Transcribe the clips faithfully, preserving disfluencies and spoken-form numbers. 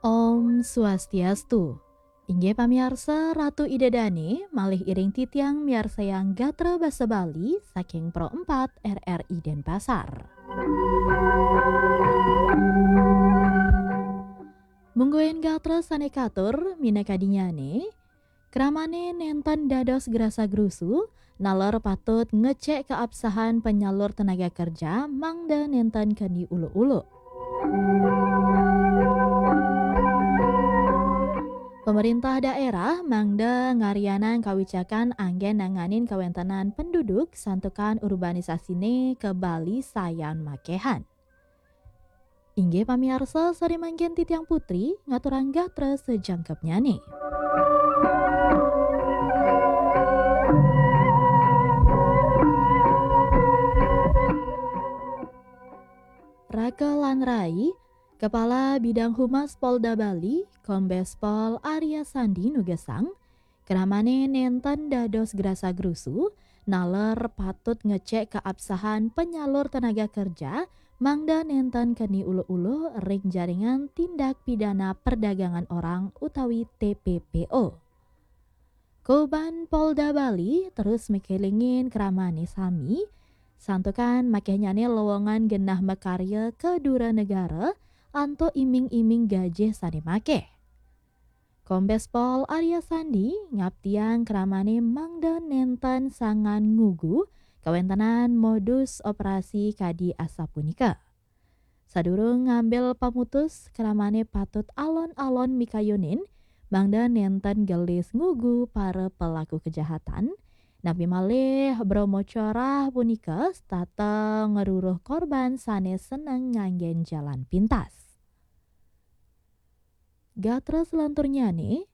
Om Swastiastu. Inggih pamiarsa, Ratu Ida Dane malih iring titiang miarsayang gatra basa Bali saking Pro empat R R I Denpasar. Mungguing gatra sane katur minakadinyane, kramane nenten dados grasa-grusu, naler patut ngecek keabsahan penyalur tenaga kerja mangda nenten keni uluk-uluk. Pemerintah daerah mangda ngaryanang kawicakan anggen nanganin kawentenan penduduk santukan urbanisasine ka Bali sayan makehan. Inggih pamiarsa, sari mangkin titiang Putri ngaturang gatra sajangkepnyane. Raka lan rai, Kepala Bidang Humas Polda Bali, Kombes Pol Arya Sandi nugesang, kramane nenten dados grasa-grusu, naler patut ngecek keabsahan penyalur tenaga kerja, mangda nenten keni uluk-uluk ring jaringan tindak pidana perdagangan orang utawi T P P O. Koban Polda Bali terus makelingin kramane sami, santukan makehnyane lowongan genah makarya ka dura negara antuk iming-iming gajih sane makeh. Kombes Pol Arya Sandi ngaptiang kramane mangda nenten sangan ngugu kawentenan modus operasi kadi asapunika. Sadurung ngambil pamutus, kramane patut alon-alon mikayunin mangda nenten gelis ngugu para pelaku kejahatan, napi malih bromocorah punika setata ngruruh korban sane seneng nganggen jalan pintas. Gatra selanturnyane,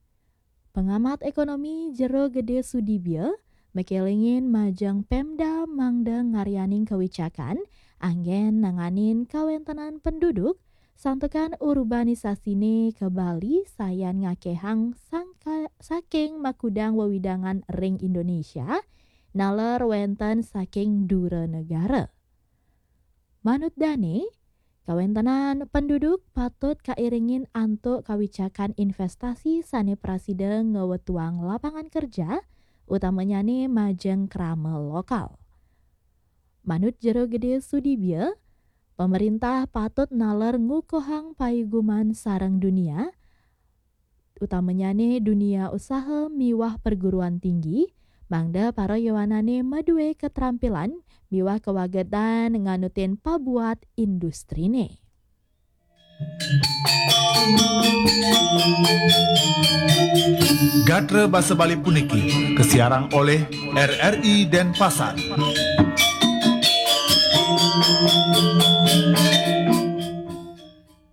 pengamat ekonomi Jero Gede Sudibya makelingin majeng Pemda mangda ngaryaning kawicakan anggen nanganin kawentenan penduduk santukan urbanisasine ka Bali sayan ngakehang sangka-, saking makudang wewidangan ring Indonesia, naler wenten saking dura negara. Manut dane, kawentenan penduduk patut kairingin antuk kawicakan investasi sane prasida ngwetuang lapangan kerja, utamanyane majeng krama lokal. Manut Jero Gede Sudibya, pemerintah patut naler ngukuhang paiguman sareng dunia, utamanyane dunia usaha miwah perguruan tinggi, mangda para yowanane madue katrampilan miwah kawagedan nganutin pabuat industrine. Gatra basa Bali puniki kasiarang olih R R I Denpasar.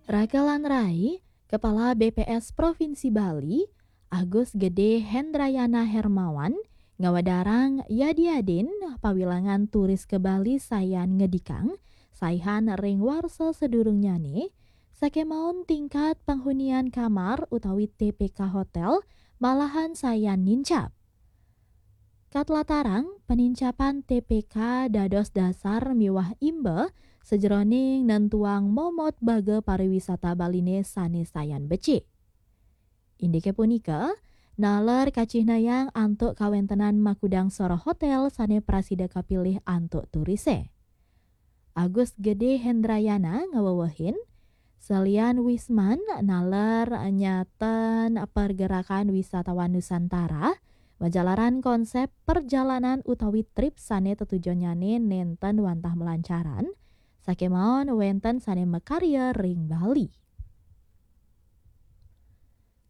Raka lan rai, Kepala B P S Provinsi Bali, Agus Gede Hendrayana Hermawan, ngawedarang yadi-yadin pawilangan turis ka Bali sayan ngedikang, saihan ring warsa sadurungnyane, sakemaon tingkat panghunian kamar utawi T P K hotel malahan sayan nincap. Katlatarang, panincapan T P K dados dasar miwah imba sajeroning nentuang momot baga pariwisata Baline sane sayan becik. Indike punika, naler kacihnayang antuk kawentenan makudang soroh hotel sane prasida kapilih antuk turise. Agus Gede Hendrayana ngawewehin, salian Wisman naler nyaten pergerakan wisatawan Nusantara, majalaran konsep perjalanan utawi trip sane tetujonnyane nenten wantah malancaran, sakemaon wenten sane makarya ring Bali.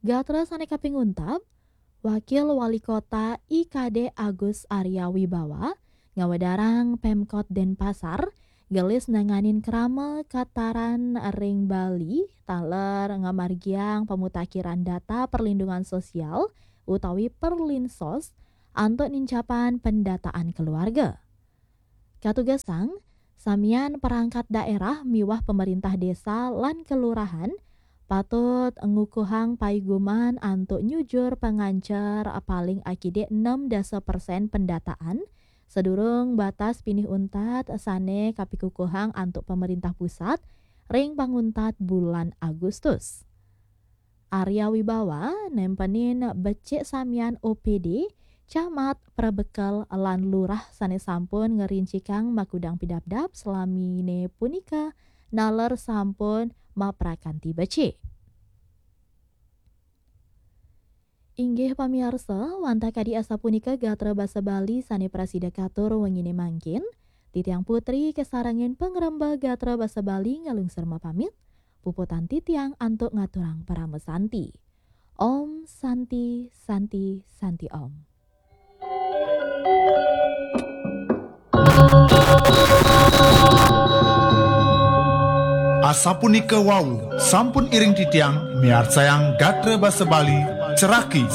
Gatra sane kaping untat, Wakil Wali Kota I K D Agus Arya Wibawa ngawedarang Pemkot Denpasar gelis nanganin krama kataran ring Bali taler ngamargiang pamutakhiran data perlindungan sosial utawi Perlinsos antuk nincapan pendataan keluarga. Katugesang, samian perangkat daerah miwah pemerintah desa lan kelurahan patut ngukuhang paiguman antuk nyujur pangancer paling akidik enam dasa persen pendataan sadurung batas pinih untat sane kapikukuhang antuk pemerintah pusat ring panguntat bulan Agustus. Arya Wibawa nempenin becik samian O P D, camat, prebekel, lan lurah sane sampun ngerincikang makudang pidabdab selamine punika naler sampun maprakanti becik. Inggih pamiarsa, wantah kadi asapunika gatra basa Bali sane prasida katur wengine mangkin. Titiang Putri kasarengin pangremba gatra basa Bali ngalungsur mapamit. Puputang titiang antuk ngaturang parama santi. Om Santi, Santi, Santi Om. Asapunika wau, sampun iring titiang miarsayang gatra basa Bali, ceraki